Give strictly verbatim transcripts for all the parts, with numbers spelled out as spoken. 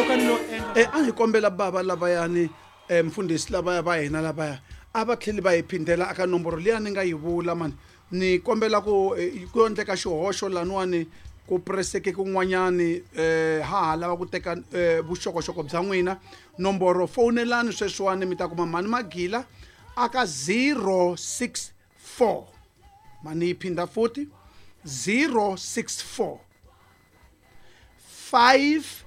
loko a ni lo endla Eh a hi kombela bava lavayani eh mfundhisi lavaya va hina lavaya a va tlheli va hi phindela aka nomboro liya ni nga yi vula mani ni kombela ku eh, ku endleka xihoxo laniwani ku preseke kun'wanyani eh ha ha lava ku teka eh, vuxokoxoko bya n'wina nomboro fowunelani sweswiwani mi ta kuma mhani magila aka zero six four mani yi phinda futhi zero six four five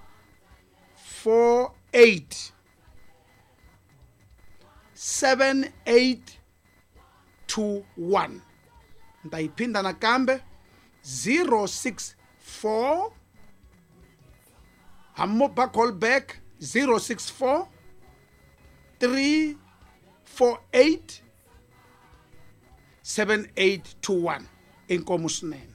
four eight seven eight two one ni ta yi phinda nakambe zero six four hammo ba call back zero six four three four eight seven eight two one inkomu swinene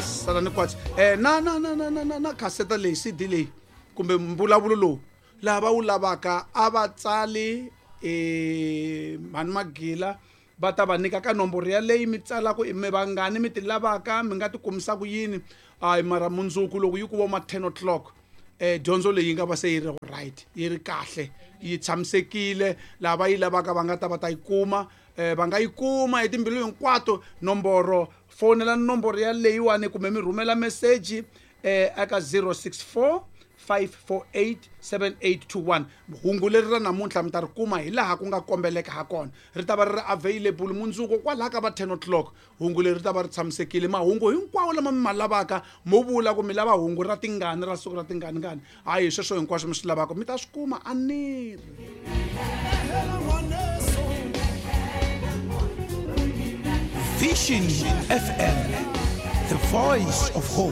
sala ni kwatsi eh na na na na na na na khaseta leyi C D leyi kumbe mbulavulo lowu laha va wu lavaka a va tsali eh mhani magila va ta va nyika ka nomboro yaleyi mi tsalaka i mi vangani mi ti lavaka mi nga ti kumisa ku yini hayi mara mundzuku loko yi ku vo ma ten o'clock eh dyondzo leyi yi nga va se yi ri right yi ri kahle yi tshamisekile laha va yi lavaka va nga ta va ta yi kuma eh va nga yi kuma hi timbilu hinkwato nomboro fonela nomboro yaleyiwani kumbe mi rhumela meseji eh eka zero six four five four eight seven eight two one. Hungu leri ra namuntlha mi ta ri kuma hi laha ku nga kombeleka ha kona ri ta va ri ri available mundzuku kwalaha ka va ten o'clock hungu leri ri ta va ri tshamisekile mahungu hinkwawo lama mi ma lavaka mo vula ku mi lava hungu ra tingani ra siku ra tingani ngani hayi sweswo hinkwaswo mi swi lavaka mi ta swi kuma a ni ri Vision F M, the voice of hope.